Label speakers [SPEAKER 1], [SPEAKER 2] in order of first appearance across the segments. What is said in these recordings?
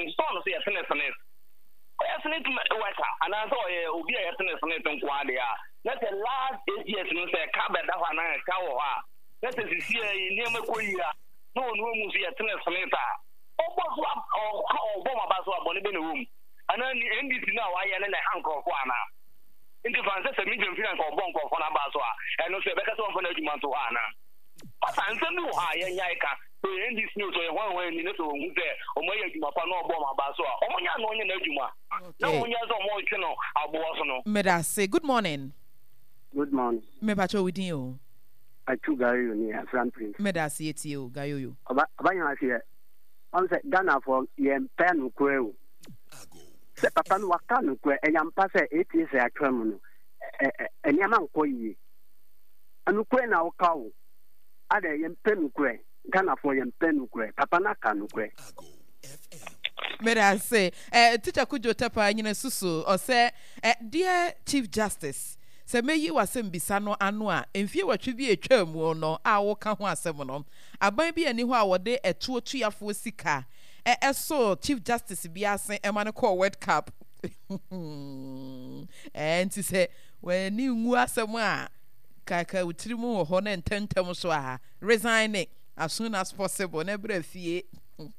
[SPEAKER 1] nsɔɔ no sɛ yɛte ne senate. Ɔyɛ senate worker anaasɛ ɔyɛ obi a yɛte ne senate nko ara deɛ a, na sɛ last 8 years no sɛ ɛka bɛda hɔ anaa ɛka wɔ hɔ a, na sɛ sisi yi nneɛma kɔ yie a, na ɔno amu so yɛte ne senate a, ɔbɔ so ɔka ɔbɔ ma ba so a bɔne bɛ na ɛwɔ mu. Anaa ni NDC no a wayɛ no na ɛha nkurɔfoɔ anaa? Nti fa nsɛ sɛ media mfiri anka ɔbɔ nkurɔfoɔ no aba so a, ɛno nso yɛbɛka sɛ ɔmfa n'adwuma nto hɔ anaa? Pasa nsɛm bi wɔ hɔ a yɛnyae ka. Sɛ ɔyɛ NDC ni o, sɛ ɔyɛ hwan hwan ni na sɛ ɔhu sɛ ɔmo ayɛ adwuma pa na ɔbɔ ɔmo aba so a, ɔmo nya no ɔnyɛ n'adwuma. Na ɔmo nya sɛ ɔmo retwe no aboɔ so no.
[SPEAKER 2] Medase. Good morning.
[SPEAKER 3] Good morning.
[SPEAKER 2] Mepakyɛ wo din o.
[SPEAKER 3] Atu Gayoyo ni Afram Prince.
[SPEAKER 2] Medase yɛtie o Gayoyo.
[SPEAKER 3] Ɔba ɔba yɛn aseɛ. Ɔn sɛ Ghana fo yɛn pɛ nokorɛ o. Sɛ papa no waka nokorɛ ɛyɛ ampa sɛ etie sɛ atwa mu no ɛ ɛ nneɛma nkɔ yie. Nokorɛ na ɔka o. Adɛ yɛn pɛ nokorɛ Ghana fo yɛn pɛ nokorɛ papa no aka nokorɛ.
[SPEAKER 2] Medase. Eh, Teacher Kojo Tepa nyina susu ɔsɛ eh, dear Chief Justice, sɛ mɛyi w'asɛmbisa no ano a, mfie wɔtwe bi a ɛtwaa mu no a woka ho asɛm no, aban bi ani hɔ a wɔde ɛtoɔ tuafoɔ sika ɛsoo Chief Justice bi ase ɛma no kɔɔ World Cup. Eh, nti sɛ w'ani nwu asɛm a, kaka wo tirim wɔ hɔ na ntɛmntɛm so a, resign as soon as possible na brɛ fie.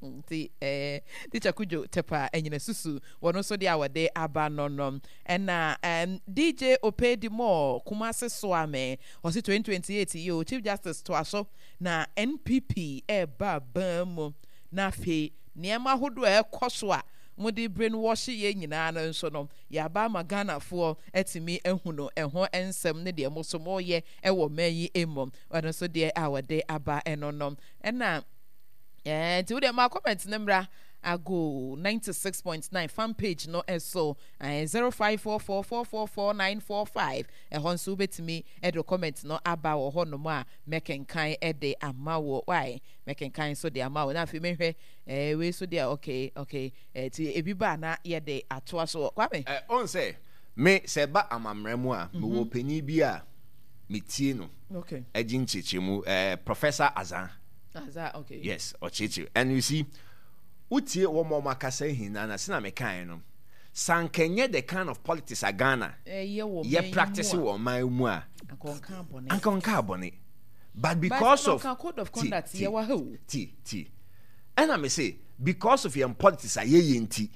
[SPEAKER 2] Nti eh, Teacher Kudjo Tepa anyina susu wɔn nso deɛ a wɔde aba no no. Ɛna um, DJ Opedi Moore Kumasi Soame ɔse 2028 yi o Chief Justice toa so na NPP ɛreba aban mu na afei nneɛma ahodoɔ a ɛkɔ so a mode brainwash yɛ nyinaa no nso no yɛaba ama Ghanafoɔ atumi ahunu ɛho nsɛm ne deɛ mo so moyɛ ɛwɔ man yi mu. Ɔno nso deɛ a wɔde aba ɛno no. Ɛna ɛɛ nti wodeɛ ma comment no mmra ago 96.9 fan page no ɛso ɛɛ 0544444945 ɛhɔ nso wobɛtumi ɛde comment no aba wɔ hɔ nom a mɛkenkan ɛde ama wo why mɛkenkan nso de ama wo na afei mehwɛ ɛɛ wei so deɛ okay okay ɛɛ ti ebi ba na yɛde atoa so Kwame.
[SPEAKER 4] Ɛ ɔn sɛ me sɛ ɛba amammerɛ mu a mewɔ panyin bi a metie no
[SPEAKER 2] okay
[SPEAKER 4] ɛgye nkyerɛkyerɛmu ɛɛ Professor Azan.
[SPEAKER 2] Azan okay.
[SPEAKER 4] Yes ɔkyerɛkyerɛ and you see wotie wɔn a wɔn akasa nyinaa na sɛ na mekaeɛ no sanka nyɛ the kind of politics a Ghana yɛ practice wɔ ɔman mu a anka ɔnka abɔne but because of
[SPEAKER 2] code of conduct yɛ wɔ ha o
[SPEAKER 4] ti ti ɛna me se because of yɛn politics a yɛyɛ nti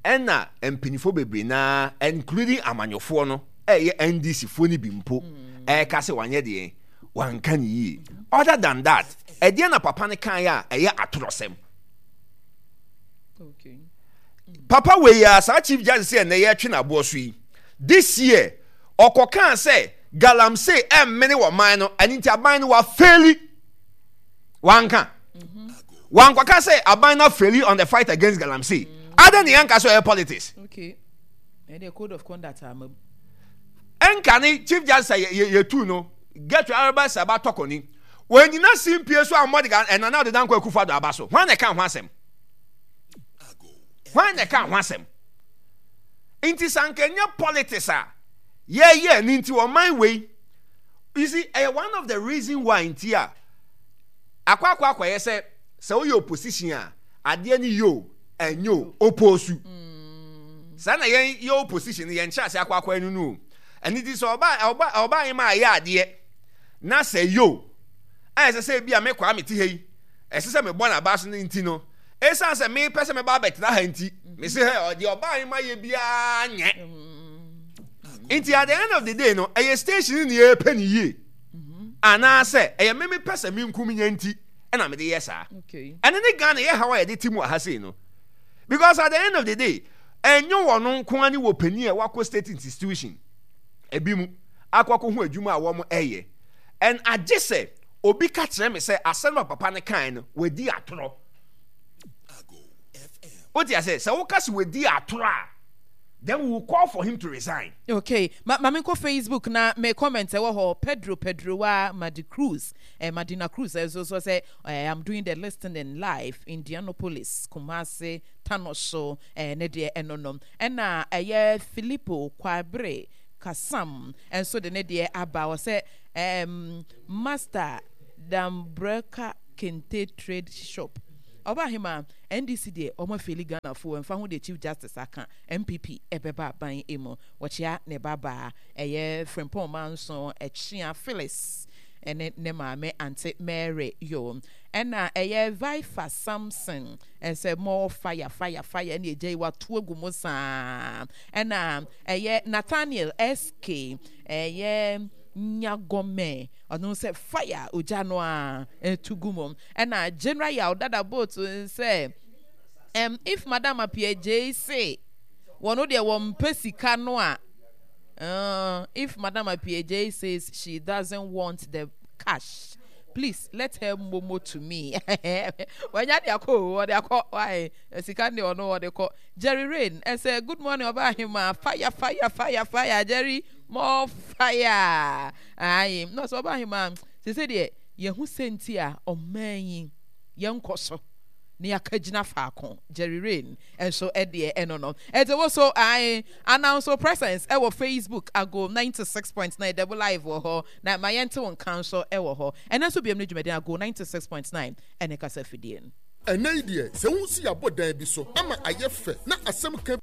[SPEAKER 4] ɛna mpanyinfoɔ bebree naa including amanyɔfoɔ no ɛyɛ NDC foɔ no bi mpo ɛka sɛ wanyɛ deɛ wanka ne yie other than that ɛdeɛ na papa no kan a ɛyɛ atorɔsɛm
[SPEAKER 2] okay.
[SPEAKER 4] Papa wei a saa Chief Justice yɛ nnɛ yɛtwe n'aboɔ so yi this year ɔkɔkaa sɛ galamsey ɛmmene wɔ man no ɛno nti aban no wafail wanka wankɔka sɛ aban no afail on the fight against galamsey adɛn ne yɛnka sɛ ɔyɛ politics
[SPEAKER 2] okay. Ɛdeɛ code of conduct ama mu.
[SPEAKER 4] Ɛnka ne Chief Justice a yɛtu no Gertrude Araba Saba Tɔkɔni wɔanyina simpie so ammɔ de Nana Addo Dankwa Akufo-Addo aba so hwan na ɛka ho asɛm hwan na ɛka ho asɛm nti sɛ anka ɛnyɛ politics a yɛyɛ ne nti ɔman wei you see ɛyɛ one of the reason why nti a akɔ akɔ akɔyɛ sɛ sɛ woyɛ opposition a adeɛ no yɛ o ɛnyɛ o oppose saa na yɛn yɛ opposition no yɛn kyerɛ ase akɔ akɔ ɛno no o ɛno ti sɛ ɔba ɔba ɔba yɛn ma ayɛ adeɛ na sɛ yɛ o a ɛsɛ sɛ ebi a mekɔ a mete ha yi ɛsɛ sɛ mebɔ n'aba so no nti no ɛsiane sɛ mepɛ sɛ mɛba abɛtena ha nti mese hɛ ɔdeɛ ɔbaa yɛn ma yɛ biara nyɛ nti at the end of the day no ɛyɛ station ne yɛpɛ ne yie anaasɛ ɛyɛ me mepɛ sɛ menkum nyɛ nti ɛna mede yɛ saa ɛne ne Ghana yɛ haw a yɛde te mu wɔ ha sei no because at the end of the day ɛnyɛ wɔn nko ara ne wɔ panin a wakɔ state institution ebi mu akɔ akɔhu adwuma a wɔn ɛyɛ and agye sɛ obi ka kyerɛ me sɛ asɛm a papa no kan no wadi atorɔ wote ase sɛ woka sɛ wadi atorɔ a then we will call for him to resign.
[SPEAKER 2] Okay, ma ma menkɔ Facebook na me comment ɛwɔ hɔ Pedro Pedro wa Madi Cruz eh, Madina Cruz ɛnso so sɛ eh, I'm doing the listening live Indianapolis Kumasi Tanoso eh, ne deɛ ɛno no ɛna ɛyɛ Filippo Kwabre Kasam ɛnso de ne deɛ aba wɔ sɛ um, Master Dambreka Kente Trade Shop. Ɔbaahemaa, NDC deɛ wɔn afeeli Ghanafoɔ ɛmfa ho deɛ Chief Justice aka, NPP ɛbɛba aban mu. Wɔkyea ne ba baa, ɛyɛ Frimpong Manso Kyea Phyllis ɛne ne maame Ante Mary Yoo. Ɛna ɛyɛ Vifer Samson sɛ more fire fire fire ɛne agya yi wato agu mu saa. Ɛna ɛyɛ Nathaniel SK ɛyɛ Nyagɔmɛ ɔno sɛ fire ogya no a ɛto gu mu. Ɛna General Yaw Dada Boat sɛ um, if Madam Appiagyei se wɔn deɛ wɔmpɛ sika no a uh, if Madam Appiagyei says she doesn't want the cash please let her momo to me wanya de akɔ o ɔde akɔ why sika ne ɔno ɔde kɔ Jerry Rain ɛsɛ good morning ɔba ahema fire fire fire fire Jerry more fire ayi na ɔsɛ ɔba ahema sese deɛ yɛho sɛnti a ɔman yi yɛnkɔ so na yɛaka gyina faako Jerry Rain nso deɛ ɛno no ɛde wo so ae announce wo presence ɛwɔ Facebook ago 96.9 dɛbo live wɔ hɔ na ma yɛnte wo nka nso ɛwɔ hɔ ɛnɛ nso biam no dwumadin ago 96.9 ɛne kasa fidie no.
[SPEAKER 5] Ɛnnɛ yi deɛ, sɛ wohu sɛ yɛabɔ dan bi so ama ayɛ fɛ na asɛm ka.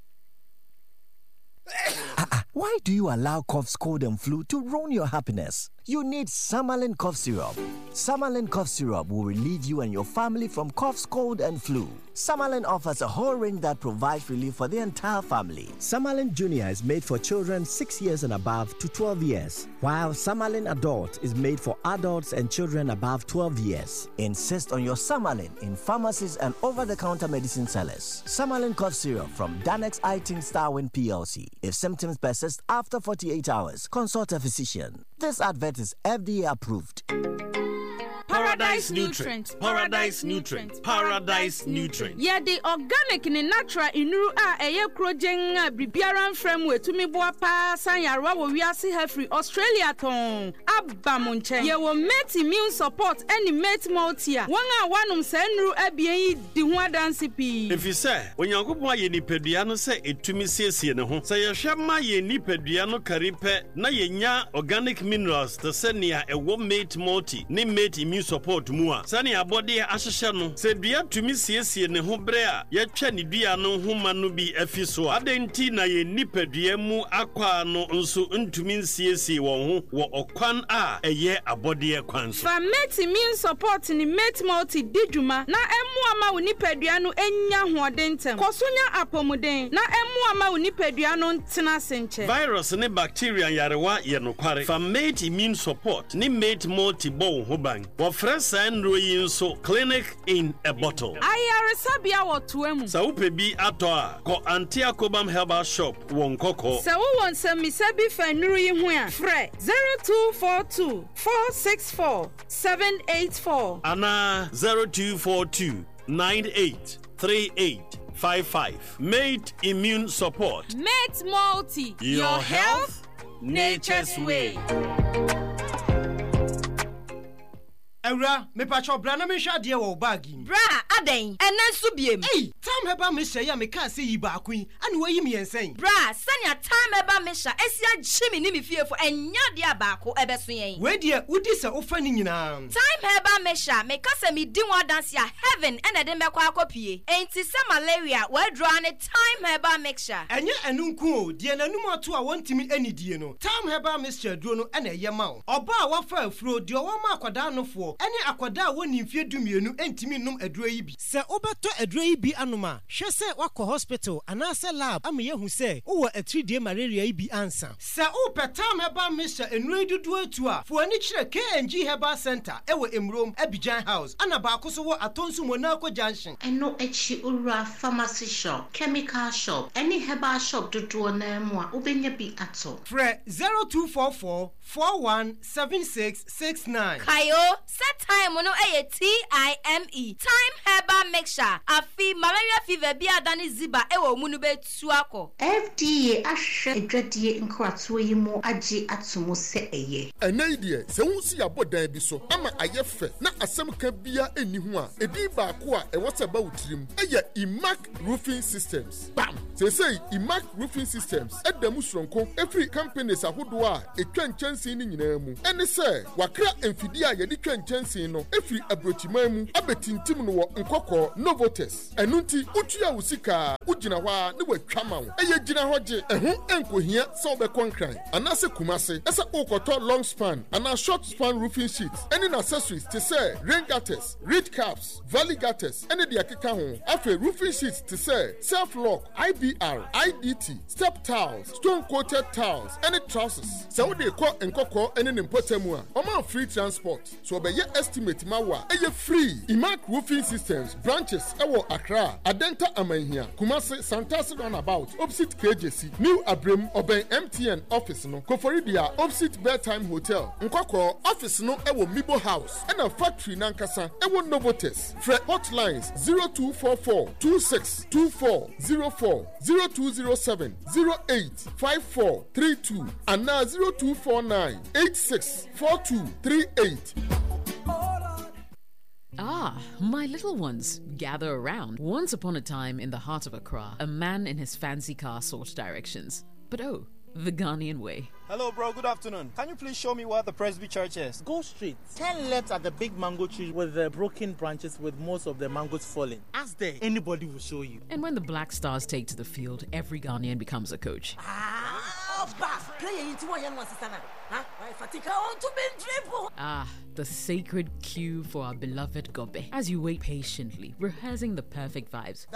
[SPEAKER 6] Ah ah, why do you allow coughs, cold and flu to ruin your happiness? You need Samalin cough syrup. Samalin cough syrup will relieve you and your family from coughs, cold and flu. Samalin offers a whole range that provides relief for the entire family. Samalin Junior is made for children 6 years and above to 12 years, while Samalin Adult is made for adults and children above 12 years. Insist on your Samalin in pharmacies and over-the-counter medicine sellers. Samalin cough syrup from Danex Itin Starwin PLC. If symptoms persist after 48 hours, consult a physician. This advert is FDA approved.
[SPEAKER 7] Paradise Nutrient, Paradise Nutrient, Paradise Nutrient.
[SPEAKER 8] Yɛde organic ne natural nnuru a ɛyɛ korogyenn a biribiara mfra mu etumi boa paa sa nyarewa wɔ wiase ha firi Australia tɔnn aba mo nkyɛn. Yɛwɔ Mate Immune Support ne Mate Multi a wɔn a wɔanom saa nnuru abien yi di ho adanse pii.
[SPEAKER 7] Efisɛ Onyankopɔn ayɛ nipadua no sɛ etumi siesie ne ho. Sɛ yɛhwɛ ma yɛn nipadua no kari pɛ na yenya organic minerals te sɛ nea ɛwɔ Mate Multi ne Mate Immune Support mu a, sɛnea abɔdeɛ ahyehyɛ no, sɛ dua tumi siesie ne ho bere a yɛatwa ne dua no nhoma no bi afi so a, adɛn nti na yɛn nipadua mu akwaa no nso ntumi nsiesie wɔn ho wɔ ɔkwan a ɛyɛ abɔdeɛ kwan so?
[SPEAKER 8] Fa Mate Immune Support ne Mate Multi di dwuma na ɛmmoa ma wo nipadua no nnya ahoɔden ntɛm. Kɔ so nya apɔmuden na ɛmmoa ma wo nipadua no ntena ase nkyɛ.
[SPEAKER 7] Virus ne bacteria nyarewa yɛ nokware. Fa Mate Immune Support ne Mate Multi bɔ wo ho ban. Wɔfrɛ saa nnuro yi nso Clinic in a Bottle.
[SPEAKER 8] Ayaresabea wɔ toa mu.
[SPEAKER 7] Sɛ wopɛ bi atɔ a, kɔ Auntie Akobam Herbal Shop wɔ Nkɔkɔ.
[SPEAKER 8] Sɛ wowɔ nsɛmmisa bi fa nnuru yi ho a, frɛ 0242 464 784.
[SPEAKER 7] Anaa 0242 98 38 55. Mate Immune Support.
[SPEAKER 8] Mate Multi,
[SPEAKER 7] Your health, nature's way.
[SPEAKER 9] Awura, mepakyɛw bra na menhwɛ adeɛ wɔ wo bag yi mu.
[SPEAKER 10] Bra, adɛn? Ɛnnɛ nso biem?
[SPEAKER 9] Ei! Tam Herbal Mixture yi a mekaa sɛ yi baako yi, ɛna woayi mmiɛnsa yi?
[SPEAKER 10] Bra, sɛnea Tam Herbal Mixture asi agye me ne me fiefo, ɛnyɛ adeɛ a baako ɛbɛso yɛn.
[SPEAKER 9] Wei deɛ, wodi sɛ wofa ne nyinaa.
[SPEAKER 10] Thyme Herbal Mixture, meka sɛ medi ho adanse a, heaven na ɛde me bɛkɔ akɔpue. Enti sɛ malaria, w'aduro ara ne Thyme Herbal Mixture.
[SPEAKER 9] Ɛnyɛ ɛno nko o, deɛ n'anum ato a wɔntumi nnidie no, Thyme Herbal Mixture aduro no na ɛyɛ ma wo. Ɔbaa a wafa afuro, deɛ ɔwɔ ma akwadaa nofoɔ, ne akwadaa a wɔnnii mfeɛ dumienu ntumi nnom aduro yi bi. Sɛ wobɛtɔ aduro yi bi anom a, hwɛ sɛ woakɔ hospital anaasɛ lab ama yɛahu sɛ wowɔ atiridie malaria yi bi ansa. Sɛ wopɛ Thyme Herbal Mixture nnuro yi dodoɔ atu a, fa w'ani kyerɛ KNG Herbal Centre wɔ Emurom, Abidjan House, ɛna baako nso wɔ Atonsu Monaco Junction.
[SPEAKER 11] Ɛno akyi wowura pharmacy shop, chemical shop, ne herbal shop dodoɔ no ara mu a, wobɛnya bi atɔ.
[SPEAKER 9] Frɛ 0244 41 76 69.
[SPEAKER 10] Kae o, sɛ thyme no yɛ TIME, Thyme Herbal Mixture, afe malaria fever bi a adane ziba wɔ wo mu no bɛtu akɔ.
[SPEAKER 11] FDA ahwehwɛ adwadie nkratoɔ yi mu agye ato mu sɛ ɛyɛ.
[SPEAKER 5] Ɛnnɛ yi deɛ, sɛ wohu sɛ yɛabɔ dan bi so ama ayɛ fɛ na asɛm ka biara nni ho a, edin baako a ɛwɔ sɛ ɛba wo tirim yɛ Imac Roofing Systems. Bam! Seesei Imac Roofing Systems da mu soronko firi companies ahodoɔ a ɛtwa nkyɛnsee no nyinaa mu. Ɛne sɛ, wɔakra mfidie a yɛde twa nkyɛnsee no firi aburokyiman mu abɛtintim no wɔ Nkɔkɔɔ, Novotes. Ɛno nti, wotua wo sika a, wogyina hɔ ara na wɔatwa ma wo. Ɛyɛ gyina hɔ gye. Ɛho nkɔhia sɛ wobɛkɔ Nkran anaasɛ Kumase sɛ worekɔtɔ long span anaa short span roofing sheets ne n'accessories te sɛ rain gutters, ridge caps, valley gutters, ne deɛ ɛkeka ho. Afei roofing sheets te sɛ self lock, IBR, IDT, step tiles, stone coated tiles, ne trusses. Sɛ wode rekɔ Nkɔkɔɔ ne ne mpɔtam a, wɔma wo free transport. Sɛ wɔbɛyɛ estimate ma wo a, ɛyɛ free. Imac Roofing Systems branches wɔ Accra, Adenta Amanhia, Kumasi, Santase Runabout, opposite KJC, New Abrem, ɔbɛn MTN office no, Koforidua, opposite Bedtime Hotel, Nkɔkɔɔ, office no wɔ Mibo House, ɛna factory no ankasa wɔ Novotes. Frɛ hotlines 0244 26 24 04, 0207 08 54 32 anaa 0249 86 4238.
[SPEAKER 12] Ah, my little ones, gather around. Once upon a time in the heart of Accra, a man in his fancy car sought directions. But oh, the Ghanaian way.
[SPEAKER 13] Hello, bro. Good afternoon. Can you please show me where the Presby Church is?
[SPEAKER 14] Go straight. Turn left at the big mango tree with the broken branches with most of the mangoes falling. Ask there. Anybody will show you.
[SPEAKER 12] And when the Black Stars take to the field, every Ghanaian becomes a coach.
[SPEAKER 15] Ah,
[SPEAKER 12] Ah, the sacred queue for our beloved Gobe. As you wait patiently, rehearsing the perfect vibes.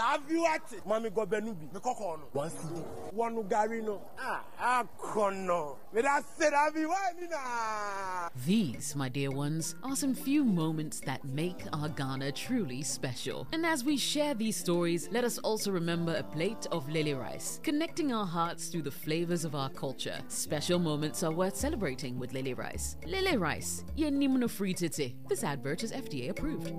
[SPEAKER 12] These, my dear ones, are some few moments that make our Ghana truly special. And as we share these stories, let us also remember a plate of lily rice, connecting our hearts through the flavors of our culture. Special moments are worth celebrating with lily rice. Lily rice, yenimno free titi. This advert is FDA approved.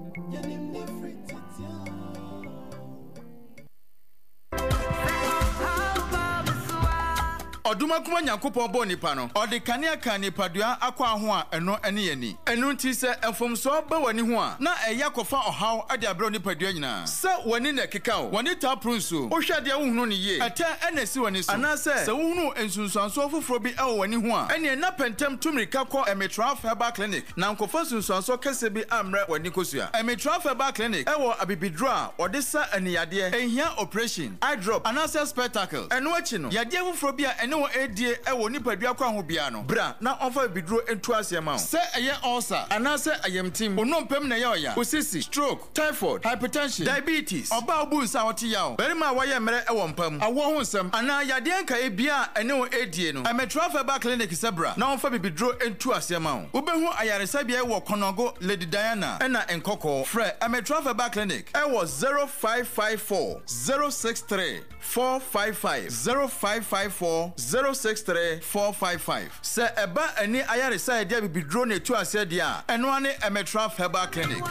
[SPEAKER 16] Ɔdomankoma Nyankopɔn bɔɔ nipa no, ɔde kanea kaa nipadua akwaa ho a ɛno ne ani. Ɛno nti sɛ mfomsoɔ ba w'ani ho a, na ɛyɛ akɔfa ɔhaw de abrɛ wo nipadua nyinaa. Sɛ w'ani na ɛkeka wo, w'ani taa poro nsuo, wohwɛ adeɛ a wonhunu no yie, ɛtɛ na ɛsi w'ani so, anaasɛ sɛ wohunu nsunsuansoɔ foforɔ bi wɔ w'ani ho a, ɛneɛ na pɛ ntɛm tu mmirika kɔ Emitraf Herbal Clinic na nkɔfa nsunsuansoɔ kɛseɛ bi ammrɛ w'ani kosua. Emitraf Herbal Clinic wɔ abibiduro a wɔde sa ani yadeɛ, ɛnhia oprehyɛn, eye drop, anaasɛ spectacles. Ɛno akyi no, yadeɛ foforɔ bi a ɛne wɔn redie wɔ nipadua kwan ho biara no, bra na wɔmfa abibiduro ntu aseɛ ma wo. Sɛ ɛyɛ ulcer anaasɛ ayamtim, wo nnompe mu na ɛyɛ ɔya, wo sisi, stroke, typhoid, hypertension, diabetes, ɔbaa a wobu nsa a ɔte yaw, barima a wayɛ mmerɛ wɔ mpa mu, awoɔ ho nsɛm, anaa yadeɛ nkaeɛ biara a ɛne wo redie no, Ɛmɛtra Herbal Clinic sɛ bra na wɔmfa bibiduro ntu aseɛ ma wo. Wobɛhu ayaresabea yi wɔ Kɔnɔgo, Lady Diana, ɛna Nkɔkɔɔ. Frɛ Ɛmɛtra Herbal Clinic wɔ 0554 063 455, 0554 063 455. Sɛ ɛba ani ayaresa a yɛde abibiduro na ɛtu aseɛ deɛ a, ɛno ara ne Emetraf Herbal Clinic.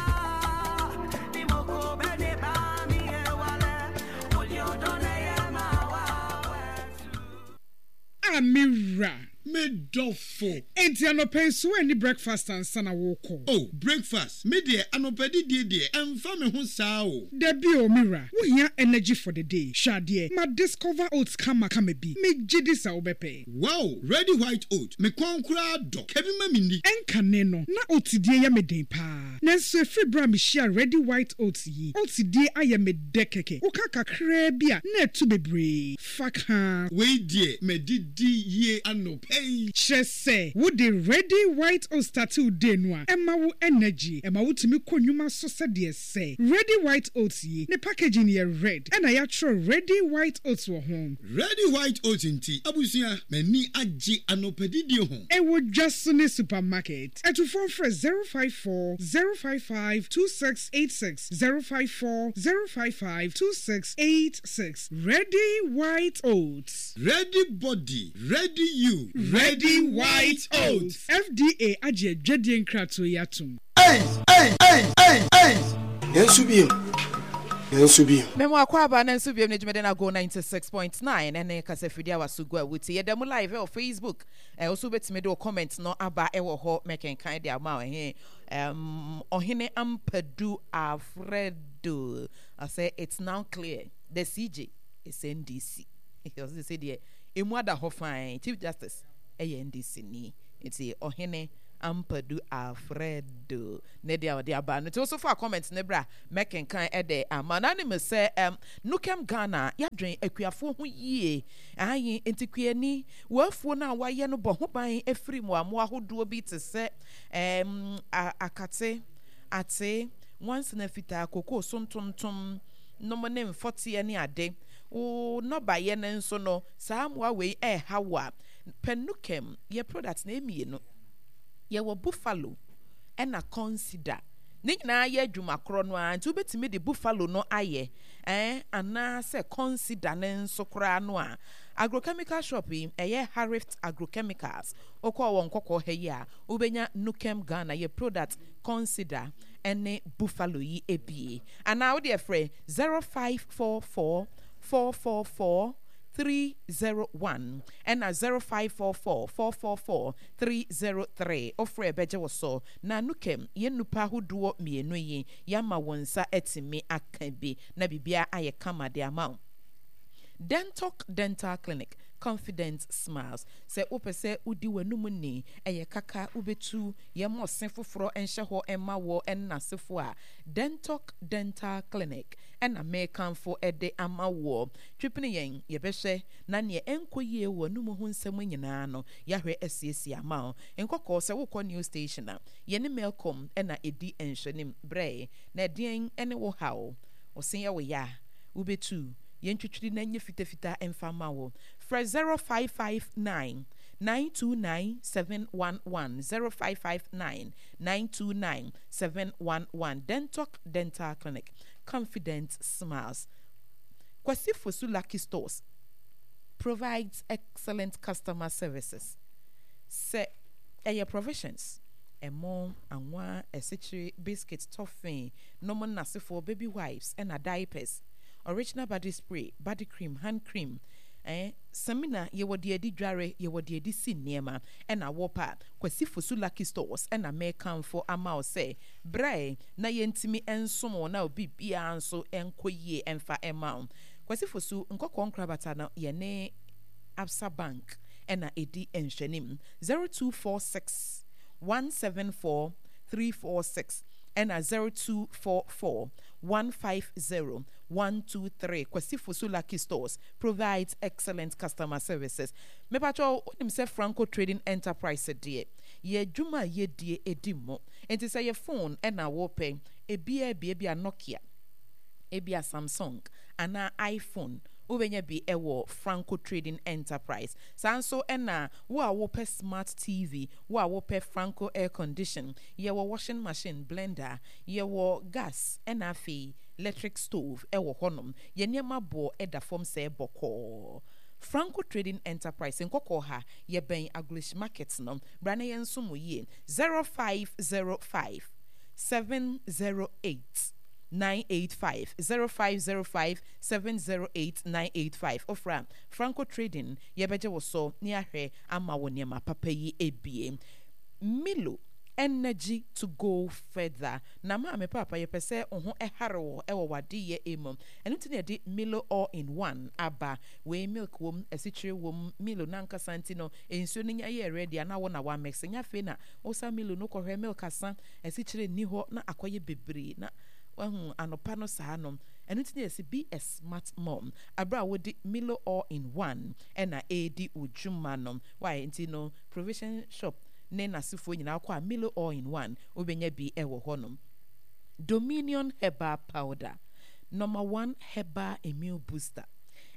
[SPEAKER 17] Ah me wura.
[SPEAKER 18] Me dɔfo.
[SPEAKER 17] Enti anɔpa yi so woanni breakfast ansa na worekɔ?
[SPEAKER 18] Oh, breakfast? Me deɛ anɔpa didie deɛ ɛmfa me ho saa o.
[SPEAKER 17] Dabi o, me wura. Wohia energy for the day. Hwɛ adeɛ, ma discover oats kama kama bi. Megye di sɛ wobɛpɛ.
[SPEAKER 18] Wow! Ready white oat, me kɔn koraa dɔ. Ka bi ma me nni.
[SPEAKER 17] Ɛnkane no, na oats die yɛ me den paa. Nanso ɛfiri berɛ a mehyiaa Ready White Oats yi, oats die ayɛ me dɛ kɛkɛ. Woka kakraa bi a, na atu bebree. Fa ka.
[SPEAKER 18] Wei deɛ madidi yie anɔpa yi.
[SPEAKER 17] Kyerɛ sɛ, wode Ready White Oats starte wo day no a, ɛma wo energy, ɛma wotumi kɔ nnwuma so sɛdeɛ ɛsɛ. Ready White Oats yi, ne packaging yɛ red, ɛna yɛatwerɛ Ready White Oats wɔ ho.
[SPEAKER 18] Ready White Oats nti, abusua, m'ani agye anɔpadidie ho.
[SPEAKER 17] Ɛwɔ dwa so ne supermarket. Atufoɔ mfrɛ 054 055 2686, 054 055 2686. Ready White Oats.
[SPEAKER 18] Ready body, ready you.
[SPEAKER 17] Ready White Oats. FDA agye adwadie nkratoɔ yi atom.
[SPEAKER 16] Ei! Ei! Ei! Ei! Ei!
[SPEAKER 19] Nanso bio, nanso bio.
[SPEAKER 2] Memo akwaaba nanso biom ne dwumadi no ago 96.9 ɛne kasafidie a waso gu a wotie. Yɛda mu live ɛwɔ Facebook. Ɛ wo so wobɛtumi de wo comment no aba ɛwɔ hɔ mɛkenkan de ama wo. Ɛhe um, Ɔhene Ampadu Alfredo. I say it's now clear. The CJ. is NDC. Ɔse sɛ deɛ emu ada hɔ fann, Chief Justice yɛ NDC ni. Nti Ɔhene Ampadu Alfredo ne deɛ ɔde aba no. Nti wo nso fa comment no bra mɛkenkan de ama. Na nim sɛ um, Nukem Ghana yɛadwen akuafoɔ ho yie. Aye, nti kuani, w'afuo no a wayɛ no bɔ ho ban firi mmoammoa ahodoɔ bi te sɛ um, akate, ate, nwansena fitaa, kokoo so ntontom nom ne mfɔteɛ ne ade. Wo nnɔbaeɛ no nso no, saa mmoa wei ɛreha wo a, pɛ Nukem, yɛ product no mmienu. Yɛwɔ Buffalo ɛna Consider. Ne nyinaa yɛ adwuma korɔ no ara, nti wobɛtumi de Buffalo no ayɛ ɛɛ anaasɛ Consider no nso koraa no a. Agrochemical shop yi, ɛyɛ Harift Agrochemicals. Wokɔɔ wɔn kɔkɔɔ ha yi a, wobɛnya Nukem Ghana, yɛ product Consider ɛne Buffalo yi bi. Anaa wodeɛ frɛ 0544 444 301 ɛna 0544 444 303. Wofrɛ a ɛbɛgye wo so. Na Nukem, yɛn nnupa ahodoɔ mmienu yi, yɛama wo nsa atumi aka bi na biribiara ayɛ kama de ama wo. Dentalk Dental Clinic, Confident Smiles. Sɛ wopɛ sɛ wodi w'anum ni, ɛyɛ kaka, wobɛtu, yɛmmɔ se foforɔ nhyɛ hɔ mma wo ne n'asefoɔ a, Dentalk Dental Clinic na merekamfo de ama woɔ. Twepene yɛn, yɛbɛhwɛ na neɛ ɛnkɔ yie wɔ w'anum ho nsɛm nyinaa no, yɛahwɛ asiesie ama wo. Nkɔkɔɔ, sɛ wokɔ New Station a, yɛne Melcom na ɛdi nhwɛnim. Brɛ, na ɛdeɛn ne wo haw? Wo se yɛ wo ya a, wobɛtu, yɛntwitwiri na ɛnyɛ fitafita mfa mma wo. Frɛ 0559 929 711, 0559 929 711. Dentalk Dental Clinic, Confident Smiles. Kwasi Fosu Lucky Stores provides excellent customer services. Sɛ ɛyɛ provisions, ɛmo, anwa, asikyire, biscuit, toffee, nom nnasefoɔ, baby wipes, ɛna diapers, original body spray, body cream, hand cream, eh, samina, yɛwɔ deɛ yɛde dware, yɛwɔ deɛ yɛde si nneɛma, ɛna wɔ pa, Kwasi Fosu Lucky Stores ɛna mekamfo ama wo sɛ brɛ na yɛntumi nsom wo na biribiara nso nkɔ yie mfa mma wo. Kwasi Fosu, Nkɔkɔɔ Nkorabata no yɛne Absa Bank ɛna ɛdi nhwɛnim, 0246 174 346 ɛna 0244 150 123. Kwasi Fosu Lucky Stores provides excellent customer services. Mepakyɛw, wonim sɛ Franco Trading Enterprise deɛ, yɛ adwuma a yɛdie ɛdi mmu. Enti sɛ yɛ phone na wopɛ, ebiaa bi, ebia Nokia, ebia Samsung, anaa iPhone, wobɛnya bi wɔ Franco Trading Enterprise. Saa nso na wo a wopɛ smart TV, wo a wopɛ Franco air condition, yɛwɔ washing machine, blender, yɛwɔ gas ɛna afei lectric stove wɔ hɔnom. Yɛn nneɛma boɔ da fam sɛɛ bɔkɔɔ. Franco Trading Enterprise, Nkɔkɔɔ ha, yɛbɛn Agulish Market no. Bra na yɛnsom wo yie. 0505 708 985, 0505 708 985. Wofrɛ a, Franco Trading, yɛbɛgye wo so na yɛahwɛ ama wo nneɛma papa yi abie. Milo energy to go further. Na maame paapa yɛpɛ sɛ wo ho hare wo wɔ w'adeyɛ mu. Ɛno nti na yɛde Milo all in one aba. Wei milk wom, asikyire wom, Milo no ankasa nti no nsuo no nya yɛɛ ready a na wo na wa mix. Nyɛ afei na wosa Milo no kɔhwɛ milk asa, asikyire nni hɔ na akɔyɛ bebree na wahu anɔpa no saa no. Ɛno nti na yɛse be a smart mom. Aberɛ a wode Milo all in one na ɛredi wo dwuma no. Why nti no provision shop ne n'asefoɔ nyinaa wokɔ a Milo all in one wobɛnya bi wɔ hɔ nom. Dominion Herbal Powder, Number one Herbal Immune Booster.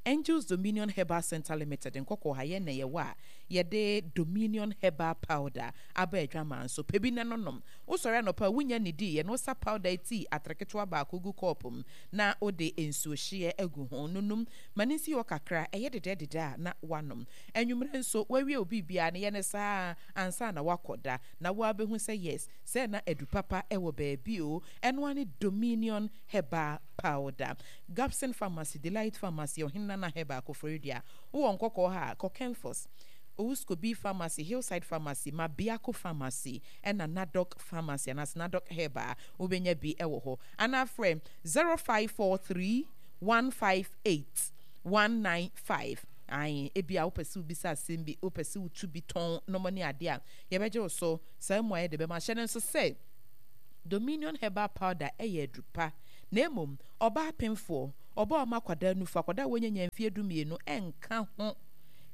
[SPEAKER 2] Angels Dominion Herbal Center Limited nkɔkɔɔ ha yɛn na yɛwɔ a yɛde Dominion Herbal Powder aba adwaman so. Pɛ bi na no nom. Wosɔre anɔpa a wunya nnidiiɛ na wosa powder yi tea atere ketewa baako gu kɔɔpo mu na wode nsuohyeɛ agu ho. Nunum ma no nsi hɔ kakra, ɛyɛ dedɛɛdedɛ a na woanom. Anwummerɛ nso, woawie wo biribiara no, yɛ no saa ara ansa na woakɔda na wo ara bɛhu sɛ yes, sɛ na adu papa wɔ baabi o. Ɛno ara ne Dominion Herbal Powder. Gabson Pharmacy, Delight Pharmacy, Ɔhene Nana Herbal, Koforidua. Wowɔ Nkɔkɔɔ ha a, kɔ Kenfos, Owuskobi Pharmacy, Hillside Pharmacy, Mabiako Pharmacy, ɛna Nadok Pharmacy anaasɛ Nadok Herbal, wobɛnya bi wɔ hɔ. Anaa frɛ 0543 158. 195. Ae, ebia wopɛ sɛ wobisa asɛm bi, wopɛ sɛ wotu bi tɔn nom ne adeɛ a, yɛbɛgye wo so. Saa mmuaeɛ de bɛma. Hyɛ no nso sɛ, Dominion Herbal Powder yɛ aduru pa, na mmom ɔbaa pemfoɔ, ɔbaa a ɔma akwadaa nufu, akwadaa a wanya mfeɛ dumienu nka ho.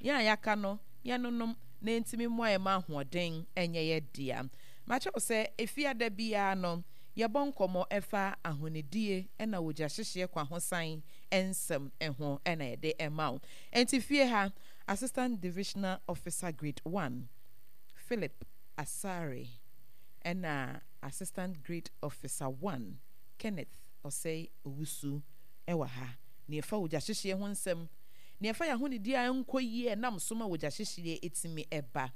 [SPEAKER 2] Yɛn a yɛaka no, yɛnonom na ɛntumi mmoa yɛn ma ahoɔden nyɛ yɛn dea. Makyerɛ wo sɛ, Efiada biara no, yɛbɔ nkɔmmɔ ɛfa ahonidie na ogya hyehyeɛ kwahosan nsɛm ho na yɛde ma wo. Enti fie ha, Assistant Divisional Officer Grade One, Philip Asare ɛna Assistant Grade Officer One, Kenneth Osei Owusu wɔ ha. Nea ɛfa ogya hyehyeɛ ho nsɛm, nea ɛfa yɛn ahonidie a ɛnkɔ yie a ɛnam so ma ogya hyehyeɛ tumi ba.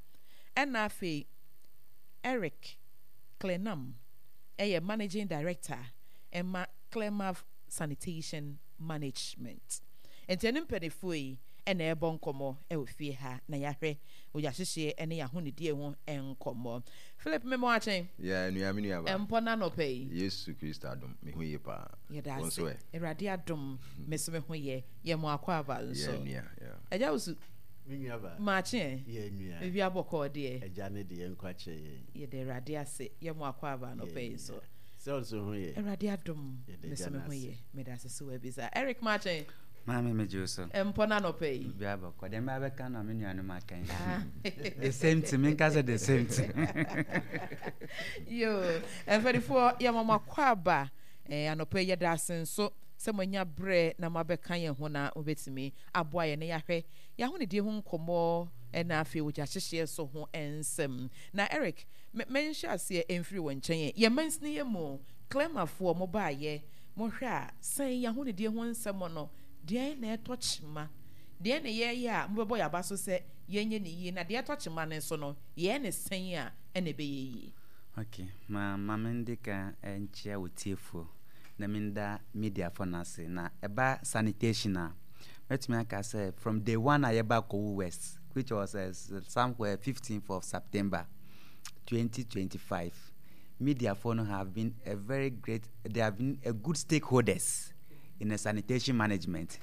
[SPEAKER 2] Ɛna afei Eric Clenam yɛ Managing Director ma Clemav Sanitation Management. Nti ɛne mpaninfoɔ yi na ɛrebɔ nkɔmmɔ wɔ fie ha na yɛahwɛ ogyahyehyeɛ ne yɛn ahonidie ho nkɔmmɔ. Philip me moakye.
[SPEAKER 15] Yeah, nua me nua ba.
[SPEAKER 2] Mpɔ na anɔpa yi.
[SPEAKER 15] Yesu Kristo adom, me ho ye paa.
[SPEAKER 2] Yɛda
[SPEAKER 15] Wo
[SPEAKER 2] ase.
[SPEAKER 15] nso ɛ?
[SPEAKER 2] Awurade adom, me nso me ho yɛ. Yɛ mo akwaaba nso.
[SPEAKER 15] Yeah, nua, yeah.
[SPEAKER 2] Agya Wusu.
[SPEAKER 20] Me nua ba.
[SPEAKER 2] Maakye ɛ?
[SPEAKER 20] Yeah, nua.
[SPEAKER 2] Biribi abɔkɔɔ deɛ.
[SPEAKER 20] Agya ne deɛ nkwa kyerɛ yɛn.
[SPEAKER 2] Yɛda Awurade ase. Yɛ mo akwaaba anɔpa yi nso.
[SPEAKER 20] Sɛ wo nso ho yɛ.
[SPEAKER 2] Awurade adom, me nso me ho yɛ. Meda ase sɛ woabisa. Eric Maakye.
[SPEAKER 21] Maame megye wo so.
[SPEAKER 2] Mpɔ no anɔpa yi.
[SPEAKER 21] Biribi abɔkɔ. Deɛ mɛba bɛka no a me nuanom aka yi. The same thing, menka sɛ the same thing.
[SPEAKER 2] Yo, mfɛdifoɔ yɛma mo akwaaba eh, anɔpa yi yɛda ase nso sɛ moanya berɛ na moabɛka yɛn ho na mobɛtumi aboa yɛn na yɛahwɛ yɛn ahonidie ho nkɔmmɔ na afei ogya hyehyeɛ so ho nsɛm. Na Eric, me menhyɛ aseɛ mfiri wo nkyɛn ɛ. Yɛn mansini yɛ mu, Clemafoɔ mobaayɛ, mohwɛ a, sɛn yɛn ahonidie ho nsɛm no, deɛn na ɛtɔ kyema? Deɛn na yɛyɛ a mobɛbɔ yɛn aba so sɛ yɛnyɛ no yie, na deɛ ɛtɔ kyema no nso no, yɛyɛ no sɛn a ɛna ɛbɛyɛ yie?
[SPEAKER 21] Ok, ma ma mendi kan nkyia wo tiefoɔ na menda mediafoɔ no ase. Na ɛba sanitation a, mɛtumi aka sɛ from day one a yɛba Kowu West, which was uh, somewhere 15th of September 2025, mediafoɔ no have been a very great, they have been a good stakeholders in the sanitation management.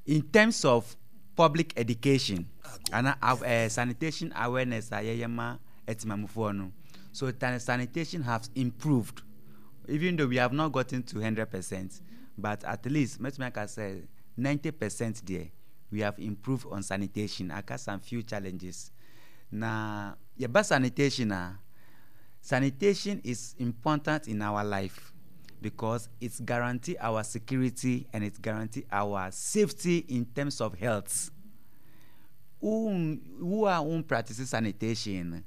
[SPEAKER 21] In terms of public education and uh, sanitation awareness a yɛyɛ ma atimamufoɔ no so sanitation has improved even though we have not gotten to 100% but at least mɛtumi aka sɛ 90% deɛ we have improved on sanitation aka some few challenges na yɛba sanitation a sanitation is important in our life because it guarantee our security and it guarantee our safety in terms of health wo wo a wo practice sanitation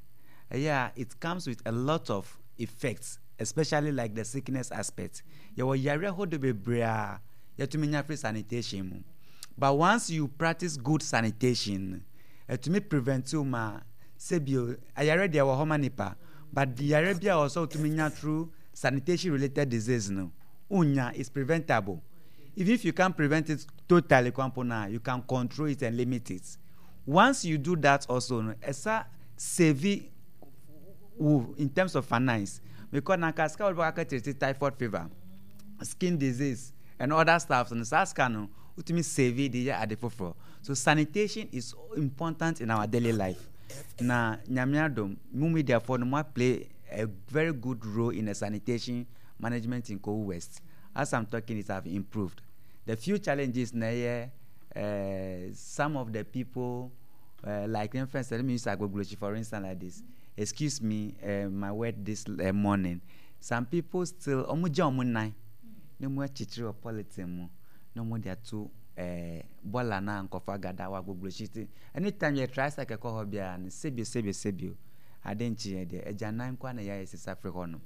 [SPEAKER 21] yeah it comes with a lot of effects especially like the sickness aspect yɛwɔ yare ahodoɔ bebree a yɛtumi nya firi sanitation mu but once you practice good sanitation ɛtumi prevent you ma sɛbio ayare deɛ wɔ hɔ ma nipa but yare bi a wɔ sɛ wotumi nya through sanitation related disease no wonya is preventable even if you can't prevent it totally kwan na you can control it and limit it once you do that also no ɛsa save wo in terms of finance because na nka sika wɔde bɛkɔ akɛtiri typhoid fever skin disease and other stuff no saa sika no wotumi save de yɛ ade foforɔ so sanitation is important in our daily life na nyame adom mu mediafoɔ no mo play a very good role in the sanitation management in Kowu West as I'm talking it have improved the few challenges na ɛyɛ uh, some of the people uh, like in fact, let me use Agbogbloshie for instance like this excuse me uh, my word this uh, morning some people still ɔmo gya ɔmo nan na ɔmo akyikyiri wɔ polythene mu na ɔmo de ato ɛɛ bɔɔla na nkɔfo agada wɔ Agbogbloshie ti anytime yɛ tricycle kɔ hɔ biara no sebio sebio sebio ade nkyi yɛ deɛ agya nan nko na yɛayɛ sisa firi hɔ no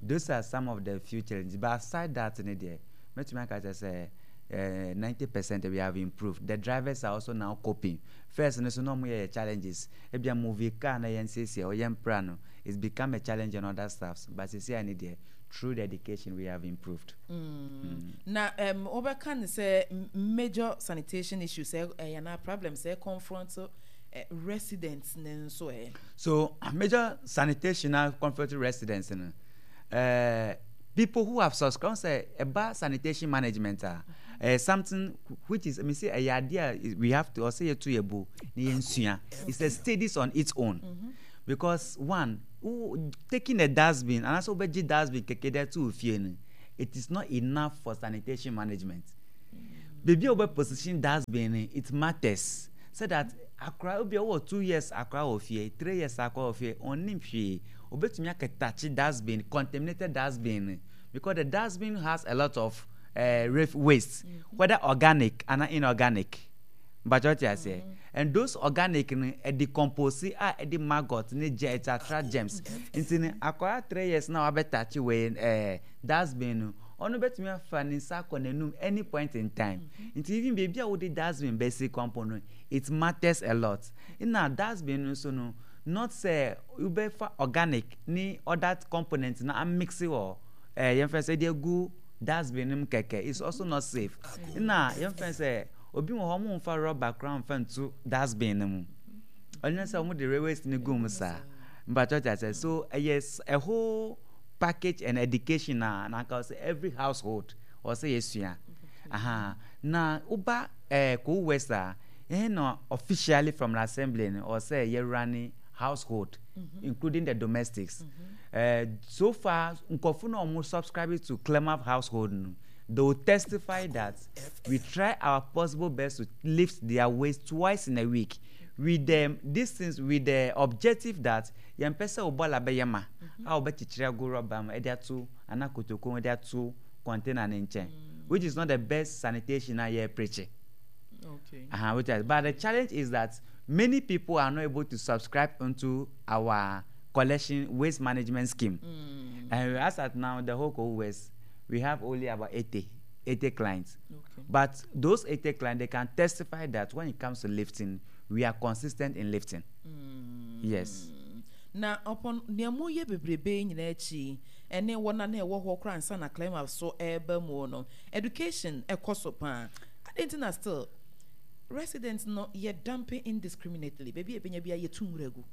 [SPEAKER 21] those are some of the few challenges but aside that ne deɛ mɛtumi aka kyerɛ sɛ 90% we have improved the drivers are also now coping first no so na ɔmo yɛ yɛ challenges ebia movie car na yɛn siesie ɔyɛ mpra no it's become a challenge and other stuffs but sisi a ne deɛ through the education we have improved.
[SPEAKER 2] Mm. Na um, wobɛka ne sɛ major sanitation issues ɛyɛ eh, eh, anaa problems ɛ confront eh, residents ne nso ɛ.
[SPEAKER 21] So major sanitation na confront residents no uh, people who have subscribed sɛ ɛba sanitation management a. Ɛyɛ something which is me say ɛyɛ adeɛ a we have to ɔsɛ yɛto yɛ bo na yɛnsua. It's a studies on its own. Mm-hmm. Because one, wo taking a dustbin anaasɛ wobɛgye dustbin kɛkɛ de ato wo fie no, it is not enough for sanitation management. Baabi a wobɛ position dustbin no, it matters. So that akora obi a wowɔ 2 years akora wɔ fie, 3 years akora wɔ fie, ɔnnim hwee. Obetumi akɛtakye dustbin, contaminated dustbin no because the dustbin has a lot of waste, whether organic and inorganic. Mpakyɛ wote aseɛ? And those organic no ɛdecompose a ɛde maggot ne gye it attract germs. Nti no akwadaa 3 years na wabɛtakye wei dustbin no, ɔno bɛtumi afa ne nsa akɔ n'anum any point in time. Nti even baabi a wode dustbin bɛsi kɔmpo no, it matters a lot. Ɛna dustbin no nso no, not sɛ wobɛfa organic ne other component na amix wɔ yɛmfrɛ sɛ de agu dustbin no mu kɛkɛ, it's also not safe. Ɛna yɛmfrɛ sɛ obi wɔ hɔ ɔmo nfa rɔba koraa nfa ntu dustbin no mu, ɔnyɛ sɛ ɔmo de waste no gu mu saa. Mpakyɛ kyerɛ sɛ so ɛyɛ a whole package and education na nanka sɛ every household ɔsɛ yɛsua aha. Na woba Kwahu West a, ɛhe na officially from the assembly no ɔsɛ yɛwura household, including the domestics. So far nkɔfo na ɔmo subscribe to Clemaf household no, they will testify that we try our possible best to lift their waste twice in a week with them these things, with the objective that yɛn pɛ sɛ ɔbɔla bɛyɛ ma a wɔbɛkyekyere agu rɔba mu ɛde ato anaa kotoku mu ɛde ato container ne nkyɛn, which is not the best sanitation a yɛ preach. Which is, but the challenge is that many people are not able to subscribe into our collection waste management scheme. And as at now, the whole Kwahu West, we have only about 80 clients. But those 80 clients, they can testify that when it comes to lifting, we are consistent in lifting. Yes.
[SPEAKER 2] Na ɔpɔn nea moyɛ bebrebe nyinaa akyi ɛne wɔn a na ɛwɔ hɔ koraa nsa na Clemaf so ɛreba mu no, education ɛkɔ so paa. Ade nti na still residents no yɛ dumping indiscriminately, baabi a ebenya bi a yɛtu nwura gu?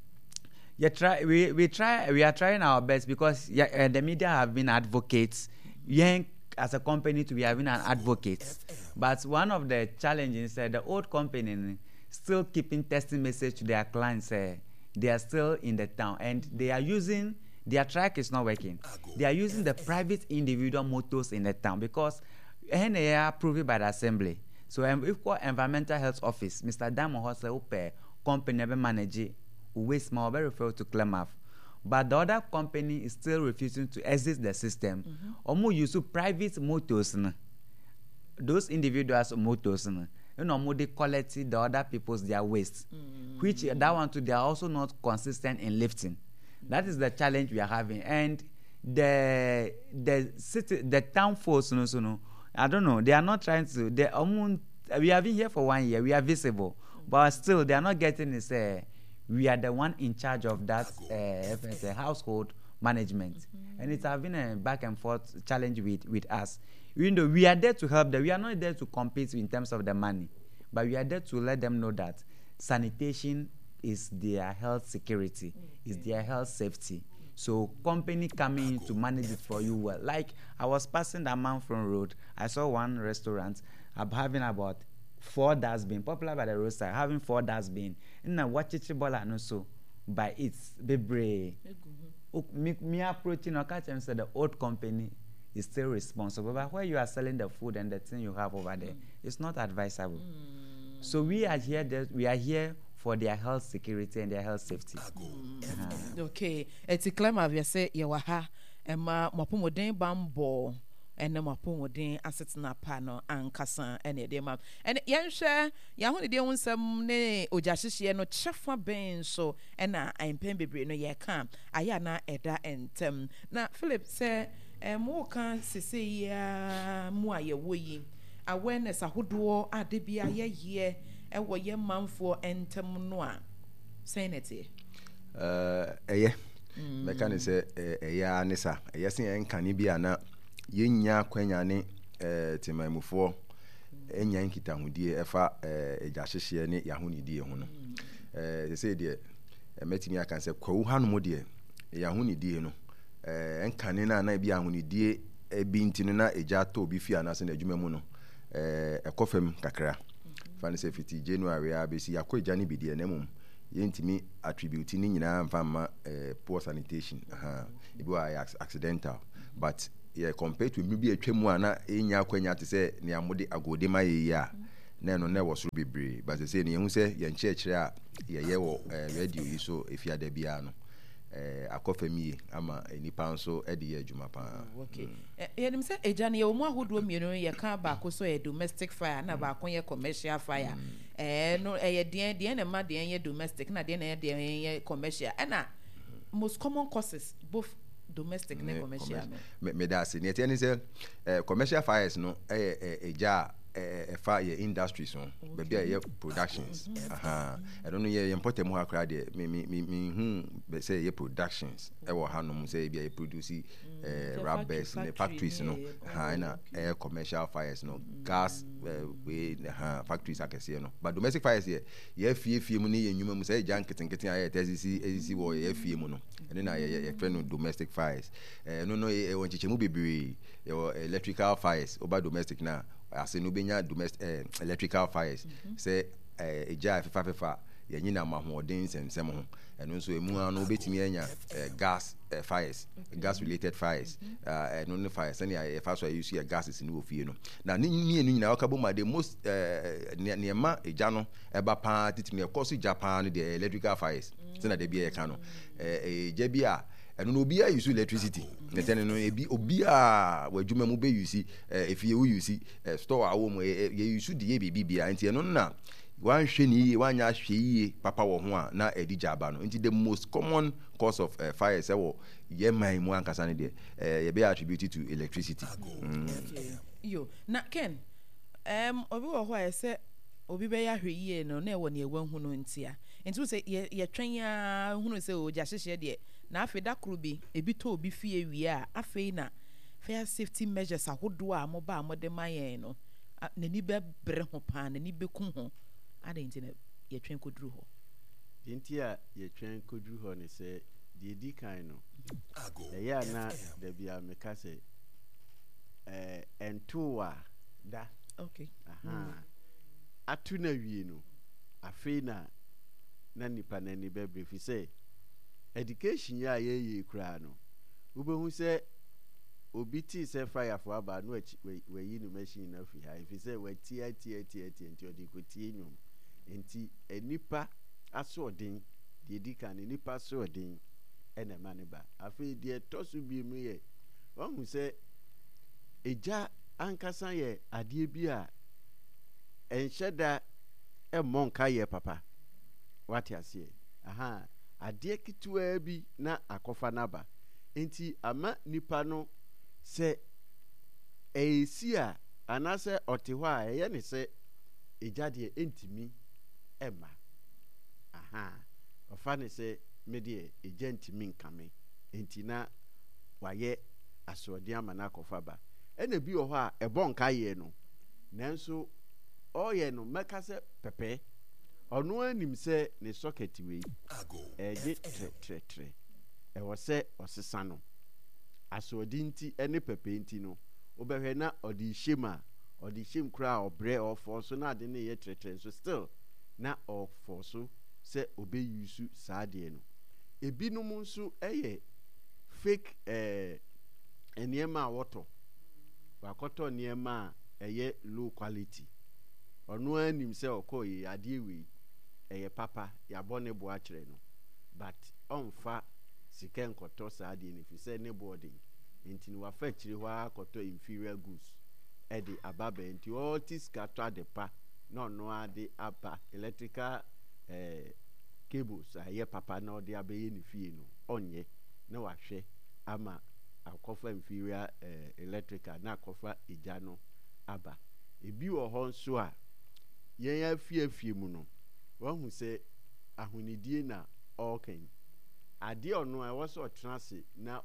[SPEAKER 21] Yeah, try we try we are trying our best because, yeah, the media have been advocates. Yeah, as a company too, we have been an advocate. But one of the challenges is that the old company still keeping testing message to their clients. They are still in the town and they are using their truck is not working. They are using the private individual motors in the town because they are approved by the assembly. So if call environmental health office, Mr. Diamond Hosel company manage waste ma ɔbɛ refer to Clemaf, but the other company is still refusing to exit the system. Ɔmo use private motors no, those individuals motors no, ɛna ɔmo de collect the other people's their waste, which that one too, they are also not consistent in lifting. That is the challenge we are having. And the city, the town folks no so no, I don't know, they are not trying to, they ɔmo, we have been here for one year, we are visible, but still they are not getting it sɛ we are the one in charge of that FSA household management. And it has been a back and forth challenge with us. Even though we are there to help them, we are not there to compete in terms of the money, but we are there to let them know that sanitation is their health security, is their health safety. So company coming in to manage it for you well. Like I was passing the Manfron Road, I saw one restaurant having about four dustbin, popular by the roadside, having four dustbin. Na wakyekyere bɔla no so by its bebree. Me approaching, ɔka kyerɛ me sɛ the old company is still responsible, but where you are selling the food and the thing you have over there, it's not advisable. So we are here, that we are here for their health security and their health safety.
[SPEAKER 2] Okay, eti Clemaf yɛsɛ yɛwɔ ha ɛma mo apɔmuden bambɔ ɛne mo apɔmuden asetena pa no ankasa ɛne ɛde ma. Ɛne yɛnhwɛ yɛn ahonidie ho nsɛm ne ogya hyehyeɛ no kyɛfa bɛn nso ɛna mpɛn bebree no yɛka ayɛ ana ɛda ntɛm. Na Philip, sɛ moka sese yi ara mu a yɛwɔ yi, awareness ahodoɔ a de bi ayɛyɛ ɛwɔ yɛn manfoɔ ntɛm no a, sɛn na ɛteɛ?
[SPEAKER 15] Ɛyɛ mɛka ne sɛ ɛyɛ ara ne sa ɛyɛ sɛ yɛn nkane bi a na yɛnnya akwanya ne temanmufoɔ nya nkitahodie ɛfa agya hyehyeɛ ne yɛahonidie ho no. Sɛsei deɛ mɛtumi aka sɛ Kwawu hanom deɛ yɛahonidie no, nkane no a na ebi ahonidie bi nti no na egya atɔ obi fie anaasɛ n'adwuma mu no. Ɛkɔ fam kakra. Fa no sɛ fiti January ara bɛsi, yɛakɔ agya no bi deɛ, na mmom yɛntumi attribute ne nyinaa mfa mma poor sanitation. Aha. Ebi wɔ a ɛyɛ accidental. But yɛ compare to mmere bi a atwa mu a na yɛnnya akwanya te sɛ nea mode agode ma yɛ yi a, na ɛno na ɛwɔ soro bebree. But seesei no yɛhu sɛ yɛn nkyerɛkyerɛ a yɛyɛ wɔ radio yi so efiada biara no, akɔ fam yie ama nnipa nso de yɛ adwuma paa.
[SPEAKER 2] Oh, okay. Yɛnim sɛ egya no yɛwɔ mu ahodoɔ mmienu, yɛka baako sɛ ɛyɛ domestic fire na baako yɛ commercial fire. Ɛɛ no ɛyɛ deɛn deɛn na ɛma deɛn yɛ domestic na deɛn na ɛyɛ deɛn yɛ commercial ɛna most common causes both domestic ne commercial no.
[SPEAKER 15] Meda ase. Nea ɛteɛ ne sɛ commercial fires no ɛyɛ egya a ɛfa yɛ industries ho, baabi a yɛyɛ productions. Ɛno no yɛ yɛn mpɔtam ha koraa deɛ me me me menhu sɛ yɛyɛ productions ɛwɔ hanom sɛ ebi a yɛ produce rubbers ne factories no ha ɛna ɛyɛ commercial fires no gas wei ha factories akɛseɛ no. But domestic fires yɛ yɛ afie fie mu ne yɛ nnwuma mu sɛ ɛgya nketenkete a yɛtɛ sisi esisi wɔ yɛ afie mu no, ɛno na yɛ yɛfrɛ no domestic fires. Ɛno no ɛwɔ nkyekyɛmu bebree. Yɛwɔ electrical fires. Woba domestic na ase no wobɛnya domestic electrical fires sɛ egya a ɛfefafefa yɛn anyinam ahoɔden nsɛmsɛm ho. Ɛno nso emu ara no wobɛtumi anya gas fires, gas related fires. Ɛno ne fire sɛnea yɛfa so a yɛsu yɛ gases no wɔ fie no. Na ne mmienu nyinaa wɔka bom a the most nea ɛma egya no ɛba paa titiri nea ɛkɔ so gya paa no deɛ electrical fires. Sɛnea da bi a yɛka no egya bi a ɛno no obiara use electricity. Na sɛ no ebi obiara wɔ adwuma mu bɛ use efie wo use store a wɔ mu yɛ use de yɛ biribi biara. Nti ɛno na wanhwɛ ne yie, wanyɛ ahwɛ yie papa wɔ ho a na ɛde gya aba no. Nti the most common cause of fires ɛwɔ yɛ man mu ankasa no deɛ yɛbɛyɛ attribute to electricity.
[SPEAKER 2] Yo, na Ken, obi wɔ hɔ a ɛsɛ obi bɛyɛ ahwɛ yie no na ɛwɔ nea wahu no ntia. Nti wo sɛ yɛtwɛn ara hunu sɛ ogya hyehyeɛ deɛ, na afei da koro bi ebi tɔ obi fie wie a, afei na fire safety measures ahodoɔ a moba a mode ma yɛn no, n'ani bɛbere ho paa, n'ani bɛku ho. Adɛn nti na yɛtwɛn kɔduru hɔ?
[SPEAKER 20] Deɛ nti a yɛtwɛn kɔduru hɔ ne sɛ, deɛ ɛdi kan no, ɛyɛ a na da biara meka sɛ, ɛntoo wo a, da.
[SPEAKER 2] Okay.
[SPEAKER 20] Aha. Ato no awie no, afei na na nipa no ani bɛbere, ɛfiri sɛ education yi a yɛyɛ yi koraa no, wobɛhu sɛ obi tee sɛ firefoɔ aba a, na wayi ne machine no afiri ha, ɛfiri sɛ watie atie atie atie nti ɔde rekɔtie nnwom. Nti nnipa asoɔden, deɛ ɛdi kan no, nnipa asoɔden na ɛma no ba. Afei deɛ ɛtɔ so bio yɛ, wahu sɛ egya ankasa yɛ adeɛ bi a ɛnhyɛ da mmɔ nkaeɛ papa. Wate aseɛ? Aha, adeɛ ketewaa bi na akɔfa no aba. Nti ama nipa no sɛ ɛresi a anaasɛ ɔte hɔ a ɛyɛ ne sɛ egya deɛ ɛntumi mma. Aha, ɔfa ne sɛ me deɛ egya ntumi nka me, nti na wayɛ asoɔden ama no akɔfa ba. Ɛna bi wɔ hɔ a ɛbɔ nkaeɛ no, nanso ɔreyɛ no mɛka sɛ pɛpɛ. Ɔno ara nim sɛ ne sɔkɛt wei ɛregye trɛtrɛtrɛ, ɛwɔ sɛ ɔsesa no. Asoɔden nti ne pɛpɛ nti no, wobɛhwɛ na ɔde rehyɛ mu a, ɔde hyɛ mu koraa a ɔbrɛ, ɔfɔɔso na ade no reyɛ trɛtrɛ nso still na ɔfɔɔso sɛ ɔbɛ use saa adeɛ no. Ebinom nso yɛ fake eh, nneɛma a wɔtɔ. Wakɔtɔ nneɛma a ɛyɛ low quality. Ɔno ara nim sɛ ɔkɔɔ yei adeɛ wei ɛyɛ papa, yɛabɔ ne bo akyerɛ no but ɔmfa sika nkɔtɔ saa adeɛ no ɛfiri sɛ ne boɔ den. Nti no wafa akyire hɔ ara akɔtɔ inferior goods de aba abɛyɛ. Nti ɔrete sika tɔ ade pa na ɔno ara de aba electrical eh, cables a ɛyɛ papa na ɔde abɛyɛ ne fie no, ɔnyɛ na wahwɛ ama akɔfa inferior eh, electrical na akɔfa egya no aba. Ebi wɔ hɔ nso a, yɛn afie afie mu no, wahu sɛ ahonidie na ɔreka yi. Adeɛ ɔno a ɛwɔ sɛ ɔtena ase na.